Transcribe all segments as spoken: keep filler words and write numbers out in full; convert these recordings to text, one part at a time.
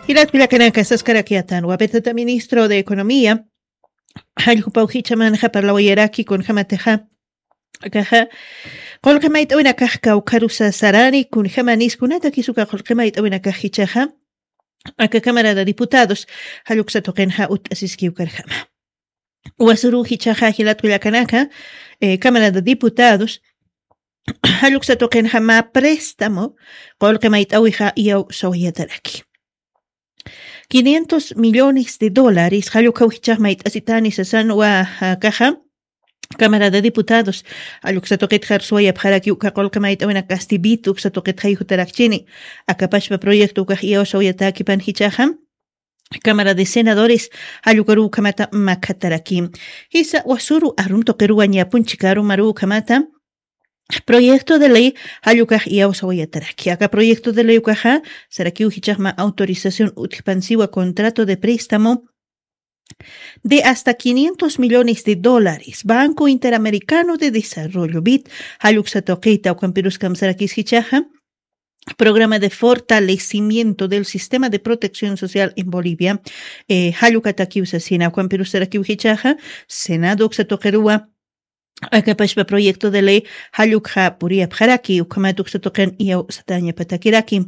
Jilat kullakanaka saskarakiyatan wapitata ministro de economía, jallkupaw jichamanxa parlawayaraki kunjamatixa akaxa, qulqi mayt'awinakax kawkharusa sarani kunjamanis kunatakisuka qulqi mayt'awinakax jichaxa aka cámara de diputados jalluksa tuqinxa ut'asiskiw karjama. Wasuru jichaxa jilat kullakanaka, eh, cámara de diputados jalluksa tuqinxa mä préstamo qulqi mayt'awixa iyaw sawayataraki quinientos millones de dólares jallukhaw jichax mayt'asitani sasan wa, ah, kaxa, cámara de diputados jalluksa tuqitxar suwayapxaraki uka qulqi mayt'awina castibit uksa tuqitxay jutarakchini. Akapashpa proyecto ukax iyaw sawayatakipan jichaxa, cámara de senadores jallukaruw ukhamata makhataraki. Jisa wasuru arum tuqiruwa ñapun chikarumaruw ukhamata proyecto de ley jallukax iyawsawayataraki aka proyecto de ley ukaxa, sarakiw jichaxma autorización utjpansiwa contrato de préstamo de hasta quinientos millones de dólares banco interamericano de desarrollo bit, jalluksa tuqita ukampirus kamsarakis jichaxa programa de fortalecimiento del sistema de protección social en Bolivia, eh, jallukatakiw sasina ukampirus sarakiw jichaxa, senado uksa tuqiruwa akapashpa proyecto de ley jallukxa puriyapxaraki ukhamat uksa tuqin iyawsatañapatakiraki.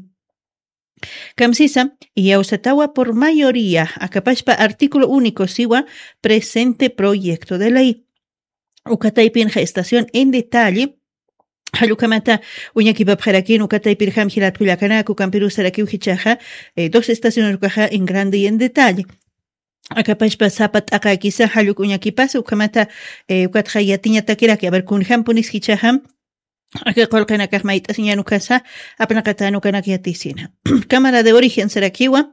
Kamsisa, iyawsatawa por mayoría akapashpa artículo único siwa presente proyecto de ley. Ukataypinxa estación en detalle jallukhamata uñakipapxarakin ukataypirjam jilatkullakanak ukampirusarakiw jichaxa, eh, dos estaciones ukaxa en grande y en detalle. Akapashpa sapa t'aqakisa jalluk uñakipasa ukhamata, eh, ukatxa yatiñatakiraki aver kunjampunis jichaxam aka qulqinakax mayt'asiñan ukasa apnaqatan ukanak yatisina. Cámara de origen sarakiwa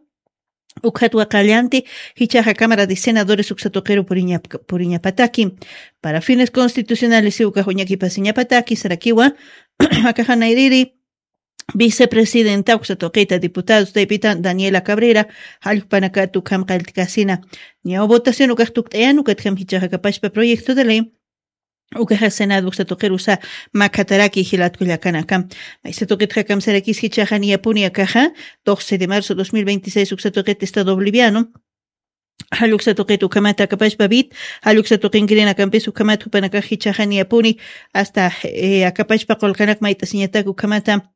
ukhatwa qallanti jichaxa cámara de senadores uksa tuqiru puriñapataki para fines constitucionales si ukax uñakipasiñapataki sarakiwa akaxa nayriri vicepresidenta uksa tuqita diputados taypitan daniela cabrera jallukpanakat ukham qalltikasina. Ñaw votación ukax tukt'ayan ukatjam jichaxa kapashpa proyecto de ley ukaxa senado uksa tuqirusa makhataraki jilatkullakanaka. Maysa tuqitxa kamsarakis jichaxa niyapuni akaxa doce de marzo dos mil veintiséis uksa tuqit estado boliviano jalluksa tuqit ukhamata akapashpa bit jalluksa tuqinkirinakampis ukhamata jupanakax jichaxa niyapuni hasta, eh, akapashpa qulqanak mayt'asiñatak ukhamata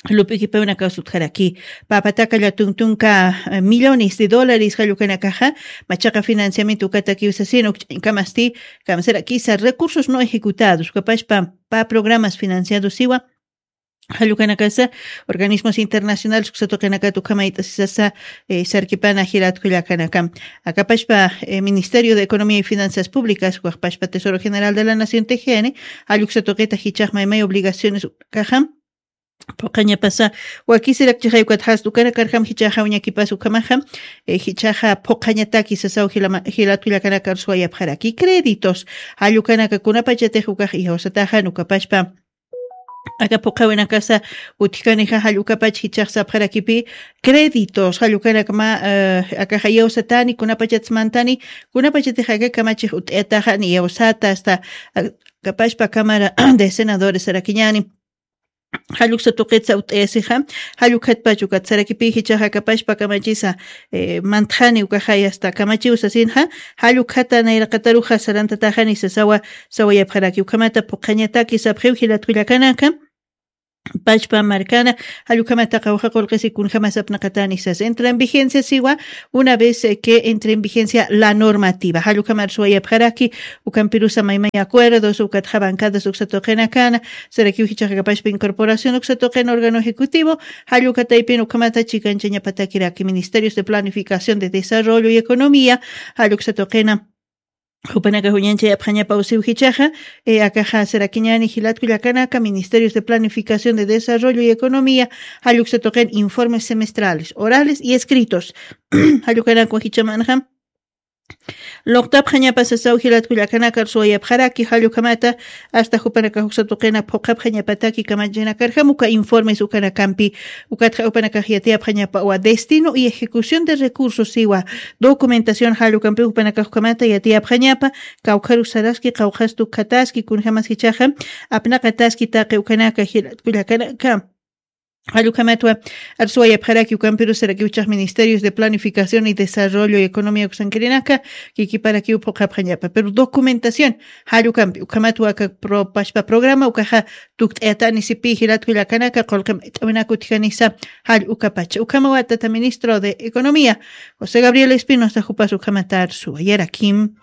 lup'ikipawinakaw sutjaraki. Papataka llatun tunka, eh, millones de dólares jallukanakaxa machaqa financiamiento ukatakiw sasin ukch'añkamasti kamsarakisa recursos no ejecutados ukapashpa pa programas financiados siwa jallukanakasa organismos internacionales uksa tuqinakat ukhamayt'asisasa, eh, sarkipana jilatkullakanaka akapashpa, eh, ministerio de economía y finanzas públicas ukapashpa tesoro general de la nación tejeni jalluksa tuqita jichaxmaymay obligaciones ukaxam phuqhañapasa wakisirak chixay ukat jast ukanakarjam jichaxa uñakipas ukhamaxa, eh, jichaxa phuqhañataki sasaw jilama- jilatkullakanakar suwayapxaraki créditos jallukanaka kunapachatix ukax iyawsataxan ukapashpa aka phuqhawinakasa utjkanixa jallukapach jichax sapxarakipi créditos jallukanakama, eh, akaxa iyawsatani kunapachatsmantani kunapachatix aka kamachix ut'ayataxan iyawsata asta, ah, kapashpa cámara de senadores sarakiñani jalluksa tuqitsa ut'ayasixa jallukhatpach ukat sarakipiy jichaxa kapashpa kamachisa, eh, mantxani ukaxay asta kamachiw sasinxa jallukjata nayraqataruxa sarantataxani sasawa sawayapxaraki ukhamata phuqhañataki sapxiw jilatkullakanaka pachpa markana jallukhamata qawxa qulqisi kunjama sapnaqatani sas entra en vigencia siwa una vez, eh, que entre en vigencia la normativa jallukhamar suwayapxaraki ukampirusa maymay acuerdos ukatxa bancadas uksa tuqinakana sarakiw jichaxa kapashpa incorporación uksa tuqina órgano ejecutivo jallukataypin ukhamata chikanchañapatakiraki ministerios de planificación de desarrollo y economía jalluksa tuqina jupanaka juñanchayapxañapaw siw jichaxa, eh, akaxa sarakiñani jilatkullakanaka ministerios de planificación de desarrollo y economía jalluksa tuqin informes semestrales orales y escritos jallukanakwa jichamanxa luqtapxañapa sasaw jilatkullakanakar suwayapxaraki jallukhamata asta jupanakax uksa tuqina phuqhapxañapataki kamachinakarjam uka informes ukanakampi ukatxa jupanakax yatiyapxañapawa destino y ejecución de recursos siwa documentación jallukampi jupanakax ukhamata yatiyapxañapa kawkharus saraski qawqhastu ukhataski kunjamas jichaxa apnaqataski taqi ukanaka jilatkullakanaka Jallukhamatwa arsuwayapxaraki ukampiru sarakiwchax ministerios de planificación y desarrollo y economía uksankirinaka kikiparakiw phuqhapxañapa pero documentación jallukampi ukhamatwa aka propashpa programa ukaxa tukt'ayatani sipi jilatku llakanaka qulqim it'awinaku utjanisa jall ukapacha ukhamawatata ministro de economía josé gabriel espinosa jupas ukhamata arsuwa yarakim.